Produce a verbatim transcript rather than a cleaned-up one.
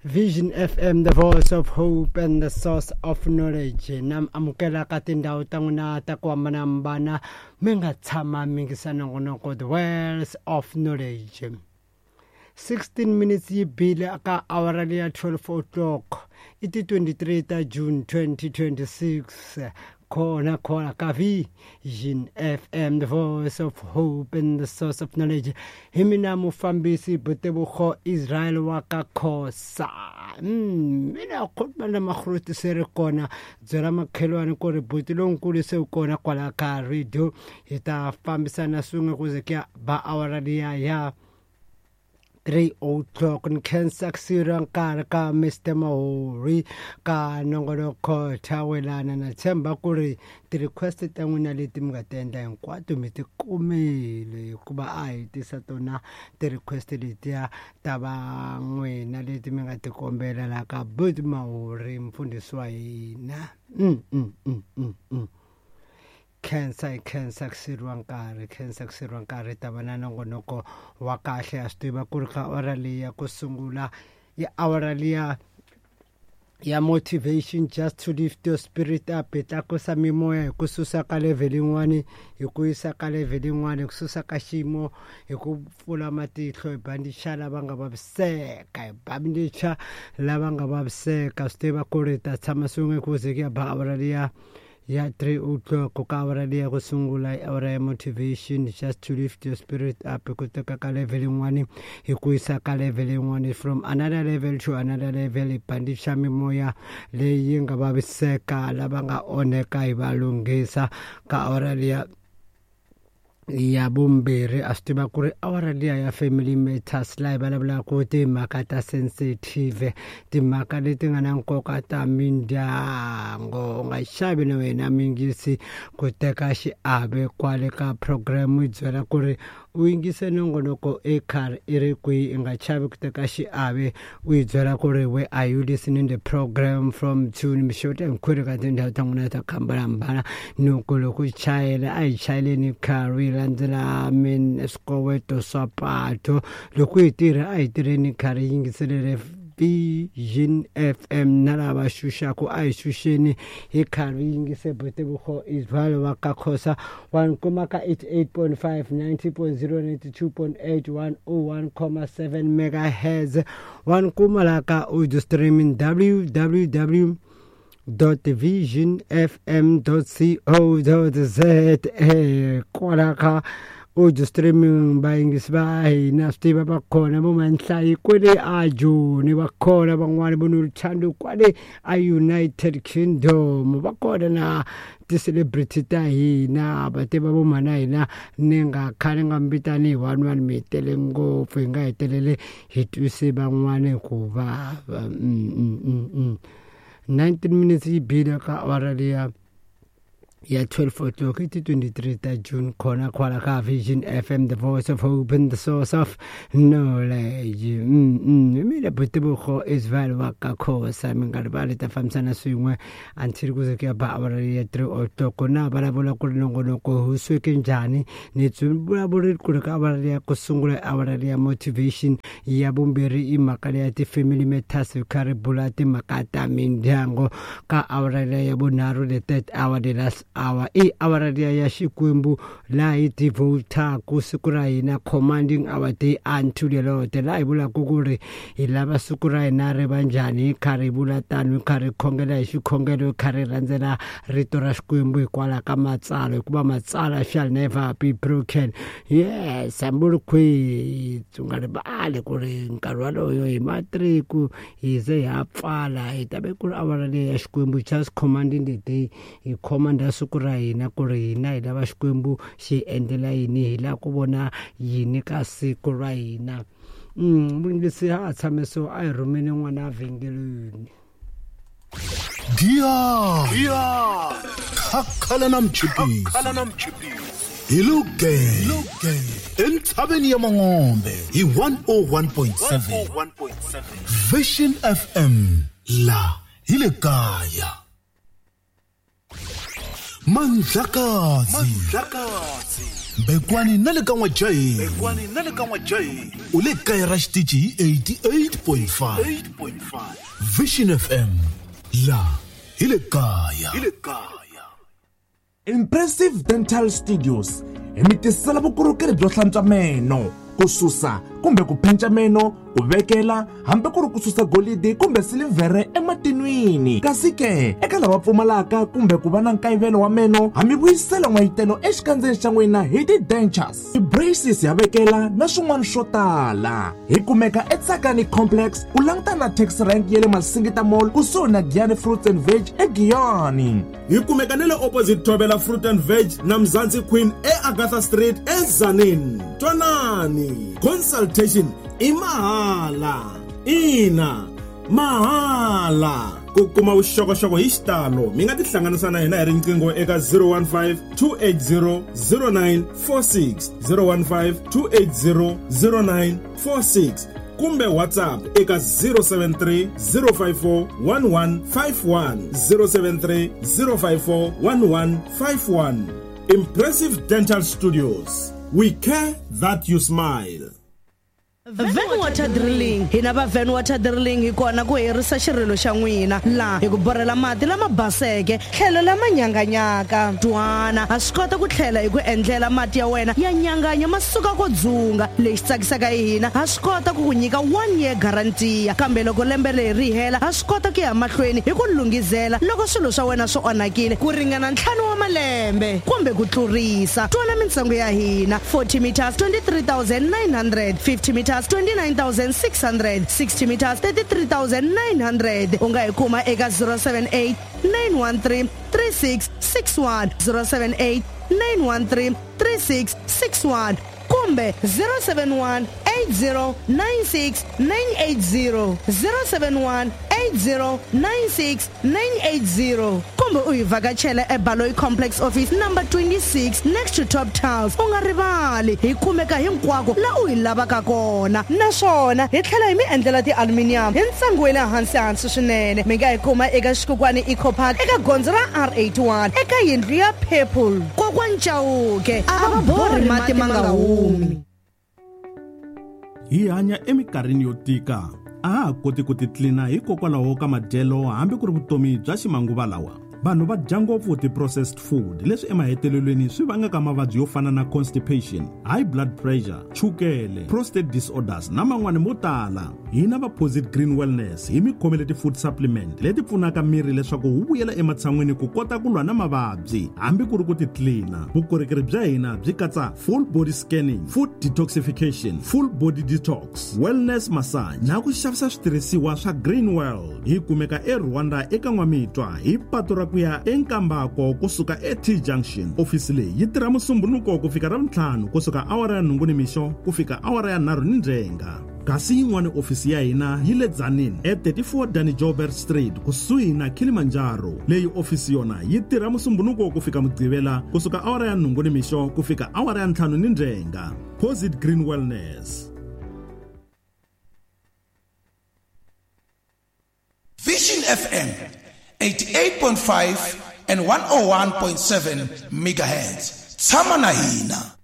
Vision F M, the voice of hope and the source of knowledge. Nam amukela ka tindhawu ta n'wina ta ku hambanahambana mi nga tshama mi yingisa nongonoko the wells of knowledge. sixteen minutes yi bile ka awara leya twelve o'clock i ti twenty-three ta June twenty twenty-six. Khona khona ka Vision F M, the voice of hope and the source of knowledge. Hi mina mufambisi Botebogo Israel wa ka Khosa. Mina khona na makhruti se ri kona byela makhelwani ku ri buti lonkulu se u kona kwala ka radio hi ta fambisana swin'we ku ze ku ya ba awara liya ya three o'clock ni khensa ku siriwa nkarhi ka Mister Mahori ka nongonoko thawelana na tshemba ku ri ti-request ta n'wina leti mi nga ti endla hinkwato mi ti kumile hikuva a hi tisa tona ti-request letiya ta va n'wina leti mi nga ti kombela la ka Buti Mahori mfundhisi wa hina. mm, mm, mm, mm, mm. Khensa hi khensa ku siriwa nkarhi khensa ku siriwa nkarhi ta va na nongonoko wa kahle a swi tiva ku ri ka awara liya ku sungula i awara liya ya motivation, just to lift your spirit up. Hi tlakusa mimoya hi ku susa ka level yin'wani hi ku yisa ka level yin'wani, hi ku susa ka xiyimo hi ku pfula matihlo, hi bandicha lava nga vaviseka, hi bandicha lava nga vaviseka. Swi tiva ku ri ta tshama swin'we ku ze ku ya ba awara liya ya three o'clock ka awara liya ku sungula i awara ya motivation, just to lift your spirit up, ku teka ka level yin'wani hi ku yisa ka level yin'wani, from another level to another level. Hi bandicha mimoya leyi nga vaviseka, lava nga onheka hi va lunghisa ka awara liya ya vumbirhi. A swi tiva ku ri awara liya ya family matters, laha hi vulavulaka timhaka ta sensitive, timhaka leti nga na nkoka ta mindyangu. U nga xavi na wena mingisi ku teka xiave kwale ka program, yi byela ku ri u yingise nongonoko i karhi i ri kwihi, i nga chavi ku teka xiave, u yi byela ku ri where are you listening the program from to mixota hinkwenu ka tindhawu ta n'wina ta ku hambanahambana. Loko loko chayela a hi chayeleni karhi yi landzela min swikoweto swa pato, loko hi tirha a hi tirheni karhi yi yingiselele Vision F M na lava xuxaku a hi xuxeni hi karhi yingise Botebogo Israel wa ka Khosa. Wa ni kuma ka eighty-eight point five, ninety point zero, ninety-two point eight, one oh one comma seven megahertz. Wa ni kuma la ka audio streaming w w w dot vision f m dot co dot z a kwala ka audio streaming. Vayingisi va hina swi tiva va kona vo Manhlayi kwale a Joni, va kona van'wani vo Noluthando kwale a United Kingdom, va kona na ti-celebrity ta hina, va tiva vo mhana hina ni nga khale nga mbitani hi one one mi tele ngopfu, hi nga hetelele hi twise van'wani ku vava. mm, mm, mm, mm. nineteen minutes yi bile ka awara liya ya twelve o'clock i ti twenty-three ta June khona kwala ka Vision F M, the voice of hope and the source of knowledge. mm, mm. Mina Botebogo Israel wa ka Khosa, mi nga rivali ta fambisana swin'we until ku ze ku ya ba awara ya three o'clock. Na vulavula ku ri nongonoko wu sweke njhani, ni vulavuri ku ri ka awara ya ku sungula awara ya motivation, ya vumbirhi i mhaka leya ti-family matters, hi kha ri bula timhaka ta mindyangu. Ka awara ya vunharhu, the third hour, the last hour, i awara liya ya Xikwembu laha hi devotaku siku ra hina, commanding our day unto the Lord, laha hi vulaka ku ri hi lava siku ra hina ri va njhani, hi karhi hi vula tano, hi karhi hi khongela hi xikhongelo, hi karhi hi landzela rito ra Xikwembu hikwalaho ka matsalwa, hikuva matsalwa shall never be broken. Yes, hambi u ri kwihi u nga rivali ku ri nkarhi waloyo hi ma three ku hi ze hi ha pfala, hi ta ve ku ri awara leyi ya Xikwembu, just commanding the day, hi commanda siku ra hina ku ri hina hi lava Xikwembu xi endlela yini, hi lava ku vona yini ka siku ra hina. Mm, muyingisi ha tshame so a hi rhumeni n'wana vhengeleni. Giya khakhala na mchipisi hi Lugenge entshaveni ya Mangombe hi one oh one point seven Vision F M la hi le kaya. Mandlakazi Bekwani na le ka N'wajahi. Bekwani na le ka N'wajahi. U le kaya ra xitichi hi eighty-eight point five. Vision F M. La hi le kaya. Hi le kaya. Impressive Dental Studios hi mi tisela vukorhokeri byo hlantswa meno, ku susa kumbe ku phenca meno, ku vekela hambi ku ri ku susa golidi kumbe silivhere ematinwini. Kasi ke eka lava pfumalaka kumbe ku va na nkayivelo wa meno, ha mi vuyisela n'wayitelo exikandzeni xa n'wina hi ti-dentures, ti-braces ya vekela na swin'wana swo tala. Hi kumeka eTsakani Complex ku langutana na taxi rank ya le Masingita Mall kusuhi na Giyani Fruits and Veg eGiyani. Hi kumeka na le opposite Thobela Fruit and Veg na Mzansi Queen eAgatha Street eZanini. Twanani, consultation i mahala. Ina, mahala. Ku kuma vuxokoxoko hi xitalo mi nga tihlanganisa na hina hi riqingho eka zero one five, two eight zero, zero nine four six, zero one five, two eight zero, zero nine four six kumbe WhatsApp eka zero seven three, zero five four, one one five one, zero seven three, zero five four, one one five one. Impressive Dental Studios. We care that you smile. Van Water Drilling. Hina va Van Water Drilling hi kona ku herisa xirilo xa n'wina laha hi ku borhela mati lama baseke tlhelo lama nyanganyaka. Twana ha swi kota ku tlhela hi ku endlela mati ya wena ya nyanganya ma suka ko dzunga. Lexi tsakisaka hi hina ha swi kota ku ku nyika one year guarantee, kambe loko lembe leri ri hela ha swi kota ku ya mahlweni hi ku lunghizela loko swilo swa wena swi onhakile ku ringana ntlhanu wa malembe kumbe ku tlurisa. Twana mintsengo ya hina: forty meters twenty-three thousand nine hundred, fifty meters twenty-nine thousand six hundred, sixty meters thirty-three thousand nine hundred. U nga hi kuma eka zero seven eight, nine one three, three six six one, zero seven eight, nine one three, three six six one kumbe zero seven one, eight zero nine six nine eight zero, zero seven one, eight zero nine six nine eight zero kumbe u hi vhakachela eBaloyi Complex Office number twenty-six next to Top Tiles. U nga rivali, hi kumeka hinkwako la u hi lavaka kona, naswona hi tlhela hi mi endlela ti-aluminium hi ntsengo wa le hansi hansi swinene. Mi nga hi kuma eka Xikokwani Eco Park eka gondzo ra R eighty-one eka yindlu ya Purple. Kokwani Chauke a va borhi mati ma nga humi. Hi hanya eminkarhini yo tika, a ha koti ku titlina hikokwalaho ka madyelo hambi ku ri vutomi bya ximanguva lawa. Vanhu va dya ngopfu ti-processed food leswi emahetelelweni swi vangaka mavabyi yo fana na constipation, high blood pressure, chukele, prostate disorders na man'wani mo tala. Hina va Posit Green Wellness hi mi khomele ti-food supplement leti pfunaka miri leswaku wu vuyela ematshan'wini ku kota ku lwa na mavabyi hambi ku ri ku titlina. Vukorhokeri bya hina byi katsa full body scanning, food detoxification, full body detox, wellness massage na ku xavisa switirhisiwa swa Green World. Hi kumeka eRwanda eka N'wamitwa hi patu ra ku ya eNkambako kusuka e-T Junction. Ofisi leyi yi tirha Musumbhunuko ku fika Ravuntlhanu kusuka awara ya nhungu nimixo ku fika awara ya nharhu ni ndzhenga. Kasi yin'wana ofisi ya hina yi le Tzaneen e thirty-four Danny Joubert Street kusuhi na Kilimanjaro. Leyi ofisi yona yi tirha Musumbhunuko ku fika Mugqivela kusuka awara ya nhungu nimixo ku fika awara ya ntlhanu ni ndzhenga. Posit Green Wellness. Vision F M eighty-eight point five and one oh one point seven megahertz. Tshama na hina.